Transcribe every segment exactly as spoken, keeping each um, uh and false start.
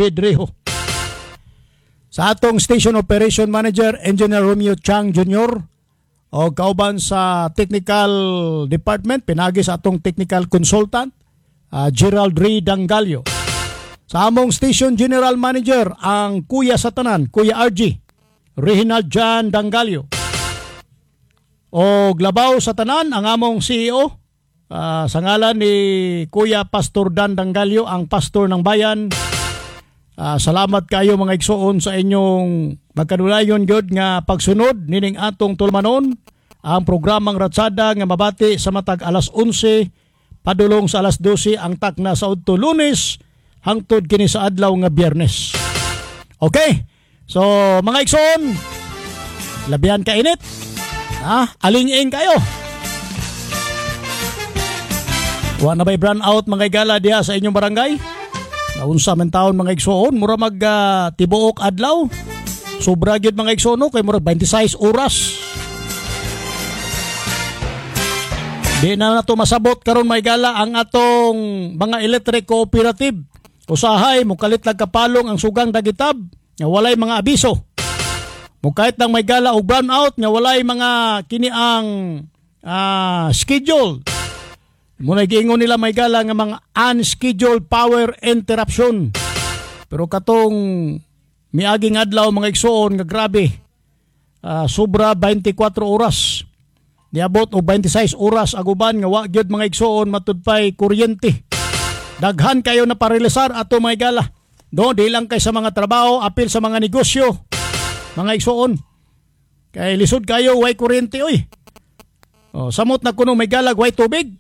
Bedrejo. Sa atong Station Operation Manager, Engineer Romeo Chang Junior o kauban sa Technical Department, pinagi sa atong Technical Consultant, uh, Gerald Ray Dangalio. Sa among Station General Manager, ang Kuya sa tanan, Kuya R G, Reginald John Dangalio. O labaw sa tanan, ang among C E O, uh, sa ngalan ni Kuya Pastor Dan Dangalio, ang pastor ng bayan. Uh, salamat kayo, mga igsoon, sa inyong magkanulayon gyud nga pagsunod nining atong tulumanon, ang programang Ratsada nga mabati sa matag alas onse padulong sa alas dose ang takna sa udto, Lunes hangtod kini sa adlaw nga Biyernes. Okay. So mga igsoon, labihan ka init. Ah, aling-ing kayo. Wa na ba'y brown out, mga igala, diha sa inyong barangay? Naunsa man taon, mga igsoon, mura mag uh, tibuok adlaw. Sobra gyud, mga igsoon, no? Kay mura twenty-six oras. Di na nato masabot karon, mga igala, ang atong mga electric cooperative. Usahay mukalit lang kapalong ang sugang dagitab nga walay mga abiso. Mukait lang may gala og brown out nga walay mga kini ang uh, schedule. Muna giingon nila may gala nga mga unscheduled power interruption. Pero katong miaging adlaw, mga igsoon, nga grabe. Uh, sobra twenty-four oras. Niabot og twenty-six oras aguban nga wa gyud, mga igsoon, matudpay kuryente. Daghan kayo na paralisar ato, mga igala. Do, di lang kay sa mga trabaho, apil sa mga negosyo. Mga igsoon. Kay lisod kayo way kuryente oy. Oh, samot na kuno may galag way tubig.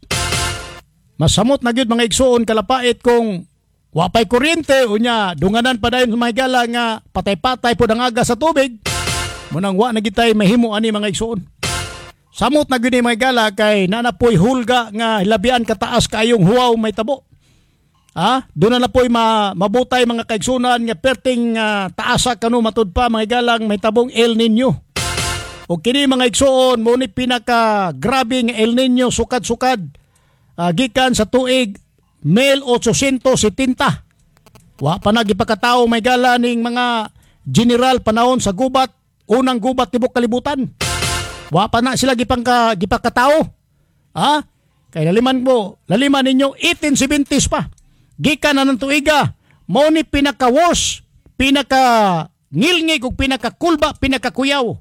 Masamot na gyud, mga igsoon, kalapait kung wapay kuryente, unya dunganan pa dayon mga igala nga patay-patay pod ang aga sa tubig. Munang wa na gitay mahimo ani, mga igsoon. Samot na gyud ni, mga igala, kay nanapoy hulga nga labian kataas kayong huwaw may tabo. Ah, doon na na po'y ma, mabutay, mga kaigsunan, nga perting uh, taasa kano matud pa, mga igalang, may tabong El Nino. O kini, mga igsoon, mo ni pinaka grabe nga El Nino sukad-sukad uh, gikan sa tuig eighteen seventy. Wa pa na gipakatao may gala ning mga general panahon sa gubat, unang gubat tibok kalibutan. Wa pa na sila gipangka gipakatao. Ha? Kay laliman mo, laliman ninyo eighteen seventies pa. Gikan na ng tuiga, mao ni pinaka worst, pinaka ngilngig ug pinaka kulba, pinaka kuyaw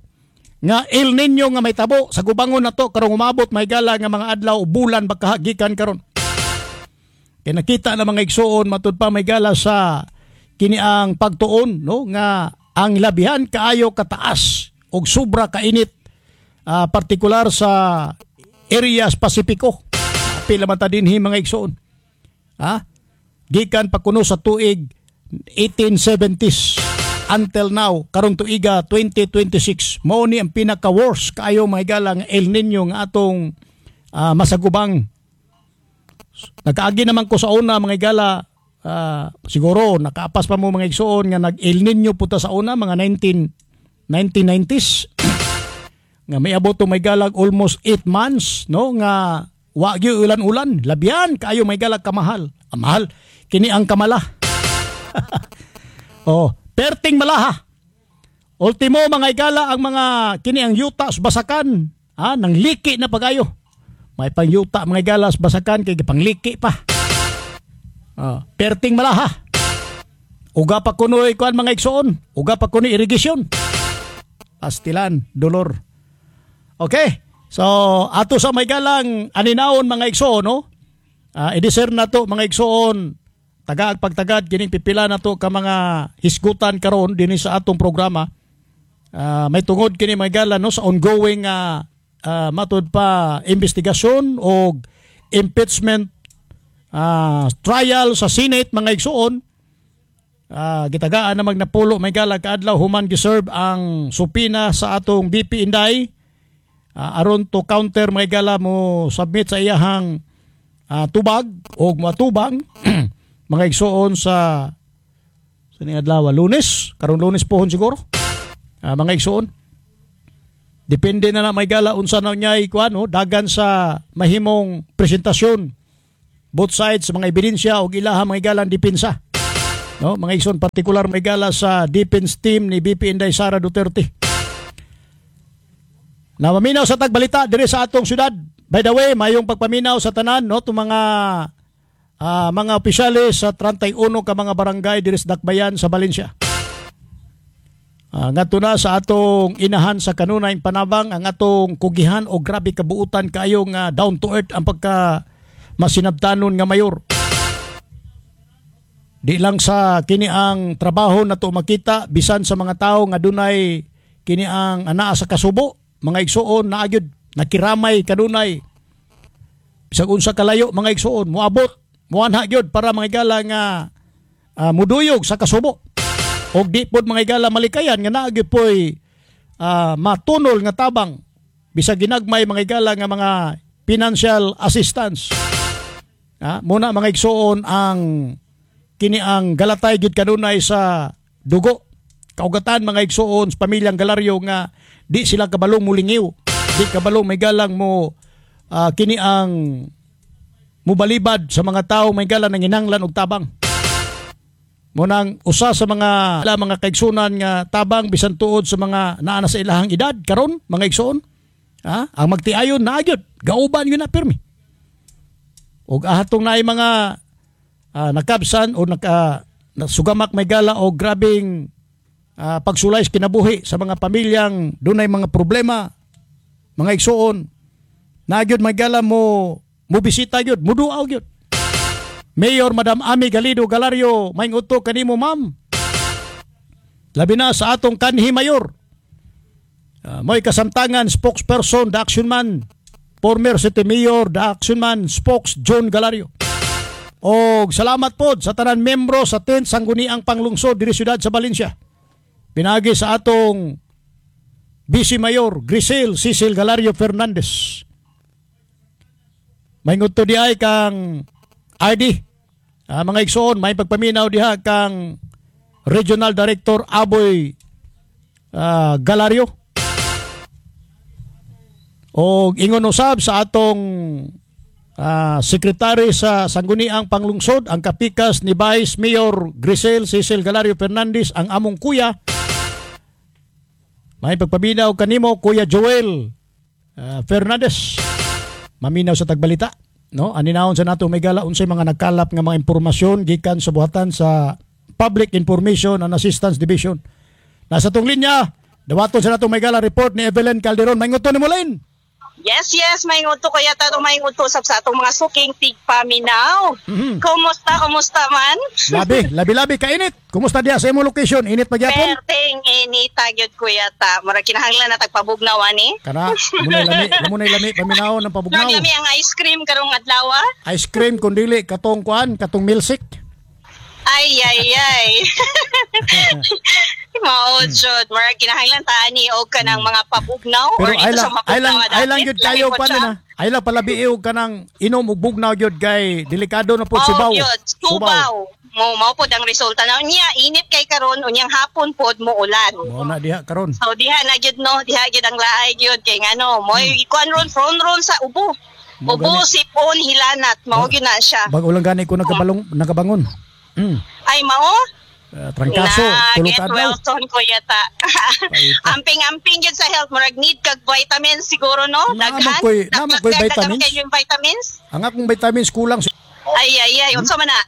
nga El Nino nga may tabo sa gubangon na to karong umabot may gala nga mga adlaw o bulan baka gikan karon. Kay nakita na, mga igsuon, matud pa may gala sa kini ang pagtuon, no, nga ang labihan kaayo kataas og sobra kainit, uh, partikular sa areas Pasipiko. Pila man ta dinhi, mga igsuon. Ha? Gikan pa kuno sa tuig eighteen seventies until now karong tuiga twenty twenty-six, mao ni ang pinaka worst kaayo, mga igala, nga El Nino nga atong uh, masagubang. Nakaagi naman ko sa una, mga igala, uh, siguro nakaapas pa mo, mga igsuon, nga nag El Nino puta sa una mga nineteen nineteen nineties nga may abot may galag almost eight months, no, nga wa gyud ulan-ulan. Labihan kaayo may galag kamahal. Ah, mahal kini ang kamala. Oh, perting malaha. Ultimo, mga igala, ang mga kini ang yuta sa basakan, ha, nang liki na pagayo. May pangyuta, mga igala, sa basakan kay gipangliki pa. Oh, perting malaha. Uga pa kunoy kuan, mga igsoon, uga pa kunoy irrigation. Pastilan, dolor. Okay. So, ato sa may galang aninaon, mga igsoon, no? Uh, i-discern na to, mga igsoon, tagaag pagtagad kining pipila na to ka mga hisgutan karon dinhi sa atong programa. Uh, may tungod kini, mga gala, no, sa ongoing uh, uh, matud pa investigasyon o impeachment uh, trial sa Senate, mga igsoon. Uh, gitagaan na magnapulo may gala kaadlaw human giserve ang subpoena sa atong V P Inday uh, aron to counter, may gala, mo submit sa iyahang uh, tubag o matubang, mga igsoon, sa sa ning adlaw, Lunes, karon Lunes pohon siguro, uh, mga igsoon. Depende na na may gala unsa na niya ikuan, no, dagan sa mahimong presentasyon both sides sa mga ebidensya o ilaha, mga igalang depensa. No, mga igsoon, partikular may gala sa defense team ni V P Inday Sara Duterte. Na maminaw sa tagbalita diri sa atong syudad. By the way, mayong pagpaminaw sa tanan, no, itong mga ah, mga opisyales sa trentay uno ka mga barangay diri sa Dakbayan sa Valencia. Uh, ngadto na sa atong inahan sa kanunayng panabang, ang atong kugihan o grabe kabuutan kaayo nga down to earth ang pagka masinabtanon nga mayor. Di lang sa kini ang trabaho na to makita bisan sa mga tao nga dunay kini ang anaa sa kasubo, mga igsuon, naa gyud nakiramay kanunay bisag unsa kalayo, mga igsuon, moabot, moanha gyud para, mga igala, nga uh, muduyog sa kasubo og di pod, mga igala, malikayan nga naa gyud poy uh, matunol nga tabang bisag ginagmay, mga igala, nga mga financial assistance. Ah, muna, mga igsuon, ang kini ang galatay gyud kanunay sa dugo kaugatan, mga igsuon, sa pamilyang Galario nga di sila kabalong mulingiw, di kabalong may galang mo uh, kini ang mubalibad sa mga tao may gala nang hinanglan og tabang. Munang usa sa mga mga kaigsunan nga tabang bisan tuod sa mga naa na sa ilahang edad karon, mga igsuon, ha, ang magtiayon naa gyud, gauban yun na pirmi og ahatong naay mga uh, nakabsan o naka sugamak may gala o grabing uh, pagsulay sa kinabuhi sa mga pamilyang dunay mga problema, mga igsuon, naa gyud may gala mo mo bisita gyud, muduaw gyud. Mayor Madam Ami Galido Galario, may uto kanimo, ma'am. Labi na sa atong kanhi mayor. Uh, mo'y kasamtangan spokesperson, the action man, former city mayor, the action man, spokes John Galario. Og salamat pod sa tanan membro sa tenth Sangguniang Panglungsod diri siyudad sa Valencia. Pinagi sa atong Vice Mayor Grisel Cecil Galario Fernandez. May ngadto di ay kang R D. Ah, mga igsoon, may pagpaminaw diha kang Regional Director Aboy ah, Galario. O ingon usab sa atong ah, sekretary sa Sangguniang Panglungsod, ang kapikas ni Vice Mayor Grisel Cecil Galario Fernandez, ang among kuya. May pagpaminaw kanimo, Kuya Joel ah, Fernandez. Maminaw sa tagbalita. No, aninahon sa nato may gala unsay mga nagkalap nga mga impormasyon gikan sa buhatan sa Public Information and Assistance Division. Nasa tong linya, dawaton sa nato may gala report ni Evelyn Calderon. May nguto ni Mulin. Yes, yes, may nguto kaya tato, may nguto sab sa atong mga suking tigpaminaw. Mhm. Kumusta, kumusta man? Labi, labi-labi kainit. Kumusta diya sa imo location? Init pagyapon? Perteng inita gyud, kuya ta. Mura kinahanglan na tagpabugnaw ani. Kana, munay lami, munay lami paminaw ng pabugnaw. Naglami ang ice cream karong adlaw. Ice cream kun dili katong kuan, katong milkshake. Ay ay ay. Mao jud, mura kinahanglan ta ani og kanang mga pabugnaw Pero or ay dito lang, sa ay lang, mapugnaw ay lang gyud kayo pa pa na. Ay lang palabi og kanang inom og bugnaw gyud kay delikado na pud Oh, subaw. yun, subaw. Mo mao pod ang resulta na unya init kay karon, unyang hapon pod mo ulan. Mao na diha karon. So diha na gyud, no, diha gyud ang laay gyud kay ngano, moy kuan ron, front ron sa ubo. Mao Ubo, gani. sipon, hilanat, mao gyud na siya. Bago lang gani ko nakabalong nakabangon. Mm. Ay, mao? Uh, trangkaso, Na, tulo get ka adlaw. well soon, kuya ta. Paita. Amping-amping gyud sa health, murag need kag vitamins siguro, no? Naa man Daghan. ko'y- naa man ko'y Daghan vitamins. kayo yung vitamins? Ang akong vitamins kulang. Ay ay ay, unsa man na?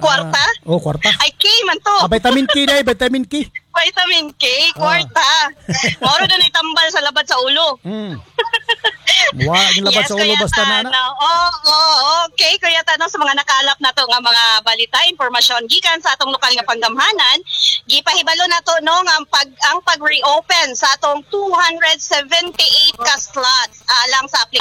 Kwarta? Ah, oh, kwarta. Ay, K man to. Ah, vitamin K dai, vitamin K. Vitamin K, kwarta. Moro doon tambal sa labad sa ulo. Mm. Wa yung labad sa ulo Kuya basta na na. Tano. Oo, oh, okay. Kuya Tano, sa mga nakalap na to nga mga balita, impormasyon gikan sa atong lokal nga panggamhanan, gipahibalo na to, no, nga ang pag ang pag-reopen sa atong two hundred seventy-eight ka slots alang sa